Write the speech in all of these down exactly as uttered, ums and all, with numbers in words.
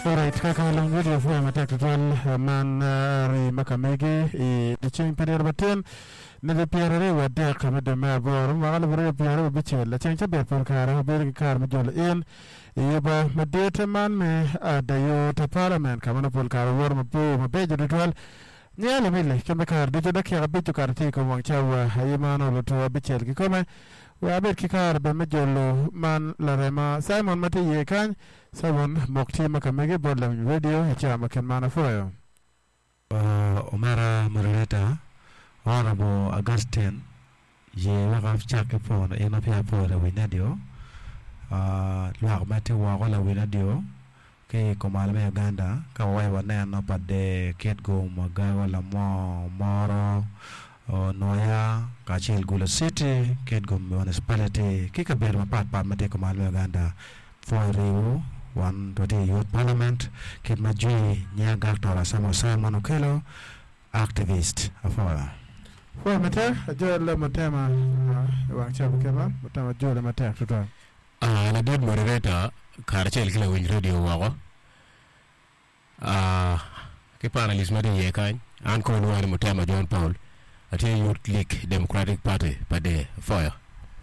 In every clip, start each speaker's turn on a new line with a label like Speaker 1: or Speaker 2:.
Speaker 1: Alright, kaka long radio fwa matek tutwal man ri makamegi i diceng pa nino matin nidi pyera aryo wadek me dwe me aboro mwaka alip aryo pyera aryo abicel laceng cabit pol kare wabedo ki kare me jolo in i yuba madit man me adayo te parliament ka ma nongo pol kare wawoto mabor mabeco tutwal nyinga lamili kembe kare ducu dakika abic okato tye i kom wang cawa aye man oluto abicel kikome wek abed ki kare bene me jolo man larema Simon ma tye iye kany Simon mok tye ma kamege bot lawiny radio i cawa ma kit man apwoyo.
Speaker 2: Omera moderator Honorable Augustine ye wek acak ki pwono in ma peya apwoyo lawiny radio lwak ma tye woko lawiny radio ki i kumalo me Uganda ka wawaco waneno pa Der Kitgum Agago Lamwo Omoro Nwoya kacel Gulu City Kitgum Municipality ki kabedo mapatpat ma tye i kumalo me Uganda pwoyo riwo wan watye i Youth Parliament kit ma jwi nyinga Dr. Samuel Simon Okello activist apwoyo.
Speaker 1: Pwoyo matek ajol Mutema i wang cawa kit man Mutema ajole matek tutwal.
Speaker 3: Ladit moderator karacel ki lawiny radio woko ki panelist ma tye iye kany an kono lwonga ni Mutema John Paul atye Youth League Democratic Party pa Der apwoyo.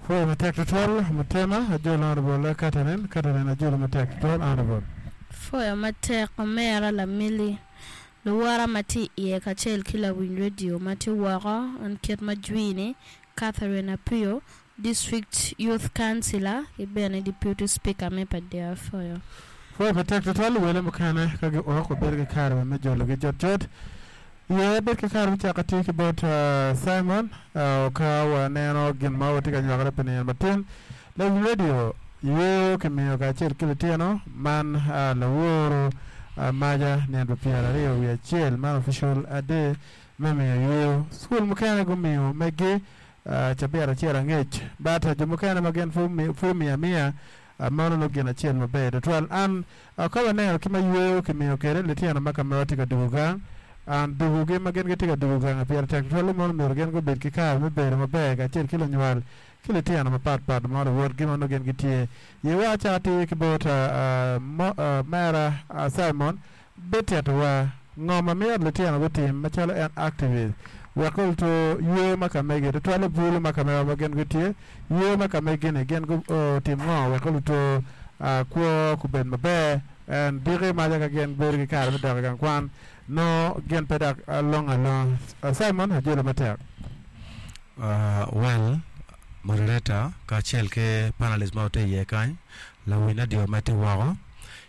Speaker 1: Pwoyo matek tutwal Mutema ajolo Honorable Catherine Catherine ajolo matek tutwal Honorable.
Speaker 4: Pwoyo matek omera lamili luwora ma tye iye kacel ki lawiny radio ma tye woko an kit ma jwi-ni Catherine Apio District Youth Councillor ki bene Deputy Speaker me pa Der apwoyo.
Speaker 1: Pwoyo matek tutwal wele mukene ka giok wabedo ki kare me jologi cutcut ye bed ki kare me cako tic ki bot Simon ka waneno gin ma watye ka nywakone pi nino matin lawiny radio yweyo kimiyo kacel ki litino man laworo maca nino pa pyera aryo wiye acel man official day me miyo yweyo cukul mukene gumiyo megi cabit acel angec but jo mukene ma gin pud omiyo amiya mano nongo gin acel maber tutwal an ka waneno ki ma yweyo kimiyo kwede litino ma ka mewa tye ka dugo gang an dugogi ma gin gitye ka dugo gang pire tek tutwal ni mono myero gin gubed ki kare me bedo maber kacel ki lunywal ki litino mapatpat ma luwotgi ma nongo gin gitye yewa acako tir ki bot mera Simon bititowa ngo ma myero litino gutim macalo en activist wek oluto yweyo ma kamegi tutwal bulu ma kamewa ma gin gitye yweyo ma kamegi-ni gin gutim ngo wek oluto kwo kubed maber en diki maca ka gin bedo ki kare me dok i gang kwan nongo gin pe dok longo alonga Simon ajolo matek.
Speaker 2: Well moderator kacel ki panelist ma watye iye kany lawiny radio ma tye woko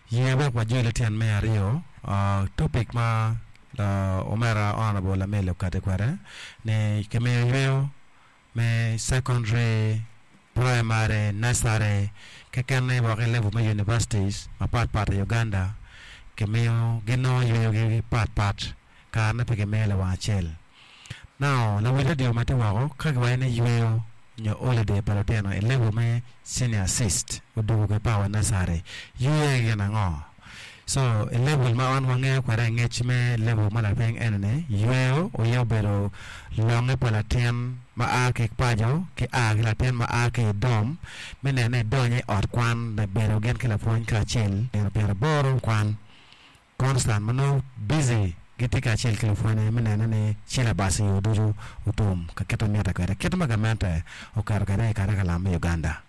Speaker 2: ye wek wajol tyen me aryo topic ma omera Honorable Lameli okati kwede ni kimiyo yweyo me secondary primary nursery kekene woko i level me universities mapatpat i Uganda kimiyo ginongo yweyogi patpat karene pe kimiyo lawang acel now lawiny radio ma tye woko ka kiwaco ni yweyo nyo holiday pa lutino i level me senior six odugo ki power nursery yweyo gin ango so i level ma wan wangeyo kwede ngec me level ma lapiny eni yweyo oye obedo longe pa latin ma a ki paco ki a ki latin ma a ki i dorm me neno ni edonyo i ot kwan me bedo gin ki lapwony kacel nino pyeraboro kwan constant ma nongo busy gitye kacel ki lupwonye me neno ni syllabus i yo ducu otum ka kit ma mitte kwede kit ma gamente oketo kwede i curriculum me Uganda.